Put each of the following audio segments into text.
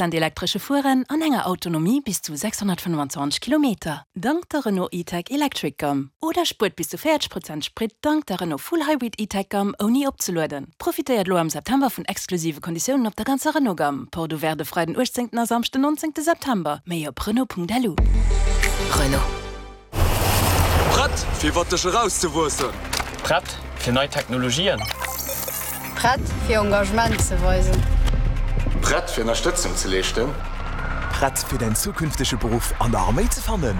Prozent elektresche Fueren an enger Autonomie bis zu 625 Kilometer, dank der Renault E-Tech Electric Gamme. Oder spuert bis zu 40 Prozent Sprit dank der Renault Full Hybrid E-Tech Gamme ouni opzelueden. Profitéiert elo am September vun exklusive Konditiounen op der ganzer Renault Gamme. Porte ouverte de Freiden 18 a Samschden 19 September. Méi op Renault.lu. Renault. Prett fir iwwer dech erauszewuessen. Prett fir nei Technologien. Prett fir Engagement ze weisen. Prett fir Ënnerstëtzung ze leeschten. Prett fir däin zukünftege Beruff an der Arméi ze fannen?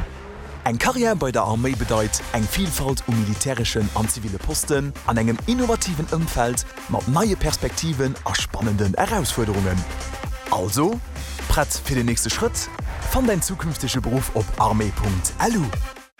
Eng Karriär bei der Arméi bedeit eng Vilfalt u militäreschen an ziville Posten an engem innovativen Ëmfeld mat neie Perspektiven a spannenden Erausfuerderungen. Also, prett fir den nächste Schrëtt? Fann däin zukünftege Beruff op armee.lu.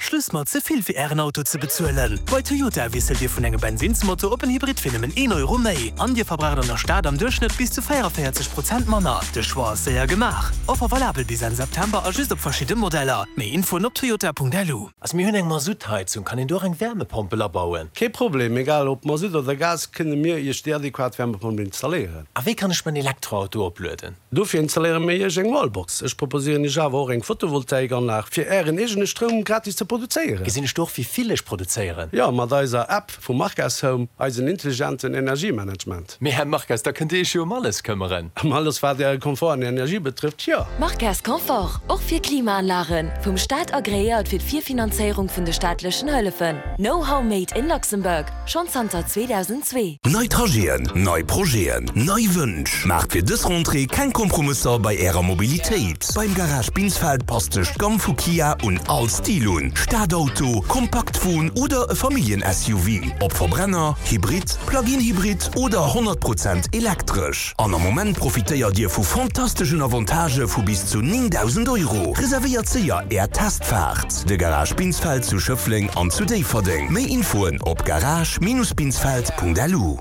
Schluss mat ze vill fir Ären Auto ze bezuelen! Bei Toyota wiesselt Dir vun engem Bensinnsmotor op en Hybrid fir nëmmen een Euro méi. An Dir verbraucht an der Stad am Duerchschnëtt bis zu 44 Prozent manner. De Choix ass séier gemaach. Offer valabel bis Enn September a just op verschidde Modeller. Méi Infoen op toyota.lu. Also mir hunn eng Masuttheizung, kann een do och eng Wärmepompel abauen? Kee Problem, egal ob Masutt oder Gas, kënne mir Iech déi adequat Wärmepompel installéieren. A wéi kann ech mäin Elektroauto oplueden? Dofir installéiere mir Iech eng Wallbox. Ech proposéieren Iech awer och eng Photovoltaikanlag, fir Ären eegene Stroum gratis ze produzéieren. Gesinn ech do och wéi vill ech produzéieren? Jo, mat eiser App vu Marques Home, eisen intelligenten Energiemanagement. Mee Här Marques, da kënnt Dir Iech jo ëm alles këmmeren. Ëm alles wat Äre Komfort an Energie betrëfft, jo. Marques Confort, och fir Klimaanlagen, vum Staat agreéiert fir d'Virfinanzéierung vun de staatlechen Hëllefen. Know-how made in Luxembourg, schonn zanter 2002. Nei Trajeten, nei Projeten, nei Wënsch. Maacht fir dës Rentrée keng Kompromësser bei Ärer Mobilitéit. Beim Garage Binsfeld passt sech d'Gamm vu Kia un all Stil un, Stadauto, Kompaktwon oder e Familljen-SUV, ob Verbrenner, Hybrid, Plug-in-Hybrid oder 100 Prozent elektresch. An am Moment profitéiert Dir vu fantasteschen Avantagë vu bis zu 9.000 Euro. Reservéiert séier Är Testfaart! De Garage Binsfeld zu Schëffleng an zu Déifferdeng. Méi Infoen op garage-binsfeld.lu.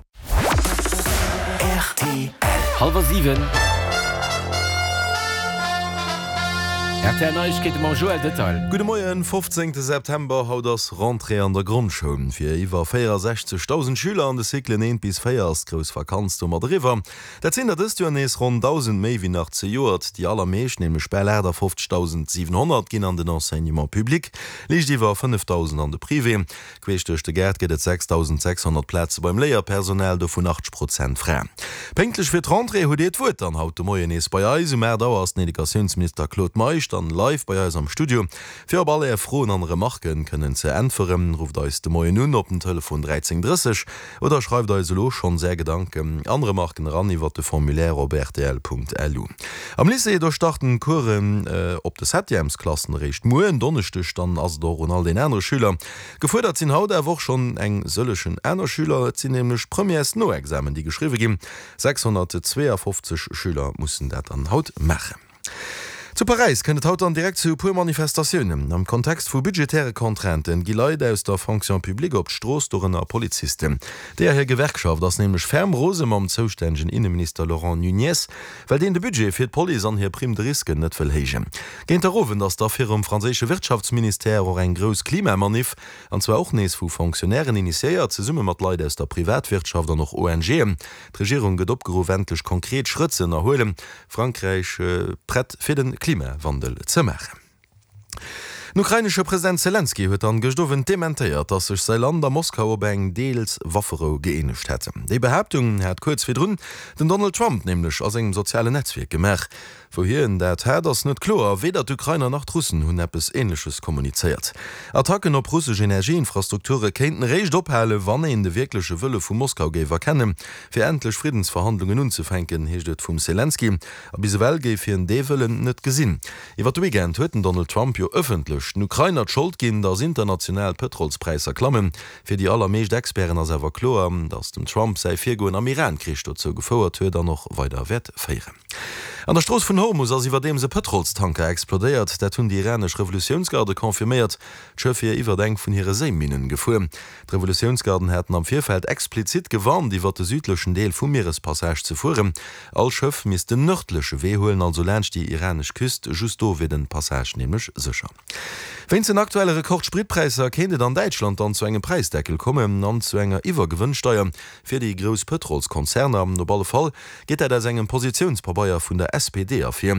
Rtl. Hallwer 7. Rtl Neiegkeete mam Joël Detail. Gudde Moien, 15 September, Haut ass Rentrée an der Grondschoul. Fir iwwer 64.000 Schüler an de Cyclen 1 bis 4 ass d'grouss Vakanz domat eriwwer. Dat sinn der dëst Joer nees ronn 1.000 méi wéi nach zejoert. Déi allermeescht, nämlech bal 58.700, ginn an den Enseignement public, liicht iwwer 5.000 an de Privé. Queesch duerch de Gaart gëtt et 6.600 Plaze beim Léierpersonal, dovun 80 Prozent Fraen. Pénktlech fir d'Rentrée hutt Dir d'Wuert dann haut de Moien nees bei eis. Um 8 Auer ass den Educatiounsminister Claude Meisch dann live bei eis am Studio, fir op all Är Froen an Remarken kënnen ze äntweren. Rufft eis de Moien un op den Telefon 13 30 oder schreift eis elo schonns Är Gedanken an Remarken eran iwwert de Formulaire op rtl.lu. Am Lycée, do starten d'Coursen op de Septièmesklassen eréischt muer en Donneschdeg. Dann ass et och un all den anere Schüler Gefuerdert sinn haut awer och schonn eng sëllegen aner Schüler. Et sinn nämlech d'Premièresnoexamen, déi geschriwwe ginn. 652 Schüler mussen dat dann haut maachen. Zu Paräis kënnt et haut dann direkt zu e puer Manifestatiounen. Am Kontext vu budgetäre Contrainten gi Leit aus der Fonction publique op d'Strooss, dorënner Polizisten. Deeër hir Gewerkschaft ass nämlech ferm rose mam zoustännegen Inneminister Laurent Nunez, well deen de Budget fir d'Police an hir Prime de risque net wëll héijen. Géint der Owend ass da virum franséische Wirtschaftsministère och eng grouss Klimamaniff, an zwar och nees vu Fonctionnairen initiéiert, zesumme mat Leit aus der Privatwirtschaft an och ONGen. D'Regierung gëtt opgeruff, endlech konkret Schrëtt ze ënnerhuelen, Frankräich prett fir de Klimawandel ze maachen. Den ukrainesche President Selenskyj huet dann gëscht Owend dementéiert, datt sech säi Land a Moskau op eng deels Wafferou gëeenegt hätt. Déi Behaaptung hat kuerz virdrun den Donald Trump nämlech a sengem sozialen Netzwierk gemaach. Wou hien dat hat, ass net kloer. Weder d'Ukrainer nach d'Russen hunn eppes Änleches kommunizéiert. Attacken op russesch Energieinfrastrukture kéinten eréischt ophalen, wann een de wierkleche Wëlle vu Moskau géif erkennen, fir endlech Friddensverhandlungen unzefänken, heescht et vum Selenskyj. A bis ewell géif hien dee Wëllen net gesinn. Iwwer de Weekend huet den Donald Trump jo ëffentlech den Ukrainer d'Schold ginn, datt international d'Pëtrolspräisser klammen. Fir déi allermeescht Experten ass awer kloer, datt dem Trump säi Virgoen am Iran-Krich dozou gefouert huet an och weider wäert féieren. An der Strooss vun Hormus ass iwwerdeems e Pëtrolstanker explodéiert. Dat hunn déi iranesch Revolutiounsgarde confirméiert. D'Schëff wier iwwert eng vun hire Séiminnen gefuer. D'Revolutiounsgarden haten am Virfeld explizit gewarnt, iwwert de südlechen Deel vum Mierespassage ze fueren. All Schëff misst den nërdleche Wee huelen, also laanscht déi iranesch Küst. Just do wier den Passage nämlech sécher. Wéinst den aktuelle Rekord-Spritpräisser kéint et an Däitschland dann zu engem Präisdeckel kommen an zu enger Iwwergewënnsteier fir déi grouss Pëtrolskonzerner. Op alle Fall geet dat aus engem Positiounspabeier vun der SPD ervir.